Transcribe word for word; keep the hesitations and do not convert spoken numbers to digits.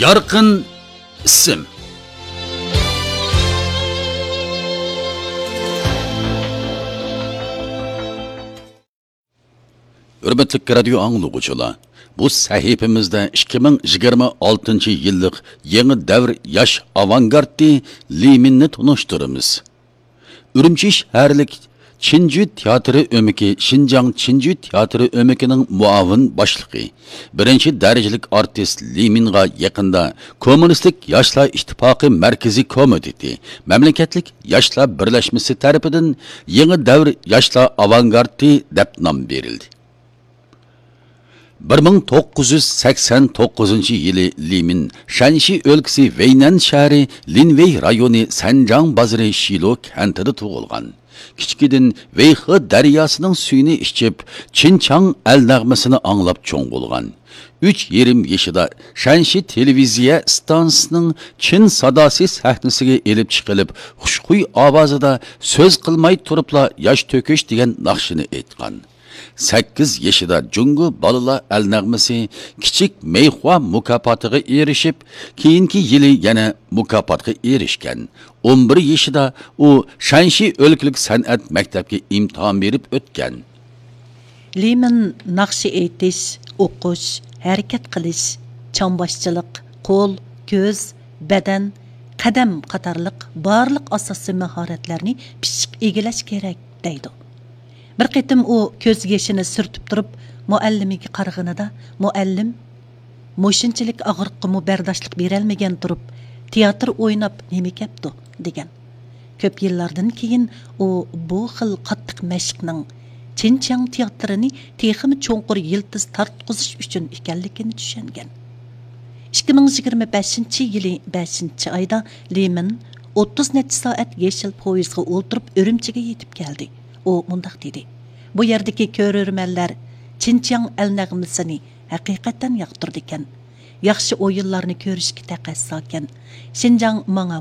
يارقىن ئىسىم. ھۆرمەتلىك رادىيو ئاڭلىغۇچىلار، بۇ سەھىپىمىزدە ئىككى مىڭ يىگىرمە ئالتىنچى يىللىق يېڭى دەۋر ياش ئاۋانگارتى لى مىننى تونۇشتۇرىمىز. ئۈرۈمچى شەھەرلىك چىنجۈ تىياتىرى ئۆمىكى شىنجاڭ چىنجۈ تىياتىرى ئۆمىكىنىڭ مۇئاۋىن باشلىقى، بىرىنچى دەرىجىلىك ئارتىس لى مىنغا يېقىندا كوممۇنىستىك ياشلار ئىتتىپاقى مەركىزىي كومىتېتى، مەملىكەتلىك ياشلار بىرلەشمىسى تەرىپىدىن يېڭى دەۋر ياشلار ئاۋانگارتى دەپ نام بېرىلدى. بىر مىڭ توققۇز يۈز سەكسەن توققۇزىنچى يىلى لى مىن شەنشى ئۆلكىسى ۋەينەن شەھىرى لىنۋېي رايونى سەنجاڭ بازىرى شىلو كەنتىدە تۇغۇلغان. كىچىكىدىن ۋېيخې دەرياسىنىڭ سۈيىنى ئىچىپ، چىنچاڭ ئەل نەغمىسىنى ئاڭلاپ چوڭ بولغان. ئۈچ يېرىم يېشىدا شەنشى تېلېۋىزىيە ئىستانسىسىنىڭ چىن ساداسى سەھنىسىگە ئېلىپ چىقىلىپ، خۇشخۇي ئاۋازىدا سۆز قىلماي تۇرۇپلا ياش تۆكۈش دېگەن ناخشىنى ئېيتقان. سەككىز يېشىدا جۇڭگو بالىلار ئەل نەغمىسى كىچىك مەيخۇا مۇكاپاتىغا ئېرىشىپ، كېيىنكى يىلى يەنە مۇكاپاتقا ئېرىشكەن. ئون بىر يېشىدا ئۇ شەنشى ئۆلكىلىك سەنئەت مەكتەپكە ئىمتىھان بېرىپ ئۆتكەن. لى مىن ناخشا ئېيتىش، ئوقۇش، ھەرىكەت قىلىش، چامباشچىلىق، قول، كۆز، بەدەن، قەدەم قاتارلىق بارلىق ئاساسىي ماھارەتلەرنى پىششىق ئىگىلەش كېرەك، دەيدۇ. بىر قېتىم ئۇ كۆز يېشىنى سۈرتۈپ تۇرۇپ، مۇئەللىمىگە قارىغىنىدا، مۇئەللىم، مۇشۇنچىلىك ئاغرىققىمۇ بەرداشلىق بېرەلمىگەن تۇرۇپ، تىياتىر ئويناپ نېمە كەپتۇ؟ دېگەن. كۆپ يىللاردىن كېيىن ئۇ بۇ خىل قاتتىق مەشىقنىڭ چىنچياڭ تىياتىرىنى تېخىمۇ چوڭقۇر يىلتىز تارتقۇزۇش ئۈچۈن ئىكەنلىكىنى چۈشەنگەن. ئىككى مىڭ يىگىرمە بەشىنچى يىلى بەشىنچى ئايدا لى مىن ئوتتۇز نەچچە سائەت يېشىل پويىزغا ئولتۇرۇپ ئۈرۈمچىگە يېتىپ كەلدى. ئۇ مۇنداق دېدى، بۇ يەردىكى كۆرۈرمەنلەر چىنچياڭ ئەل نەغمىسىنى ھەقىقەتەن ياقتۇرىدىكەن. ياخشى ئويۇنلارنى كۆرۈشكە تەقەززاكەن. شىنجاڭ ماڭا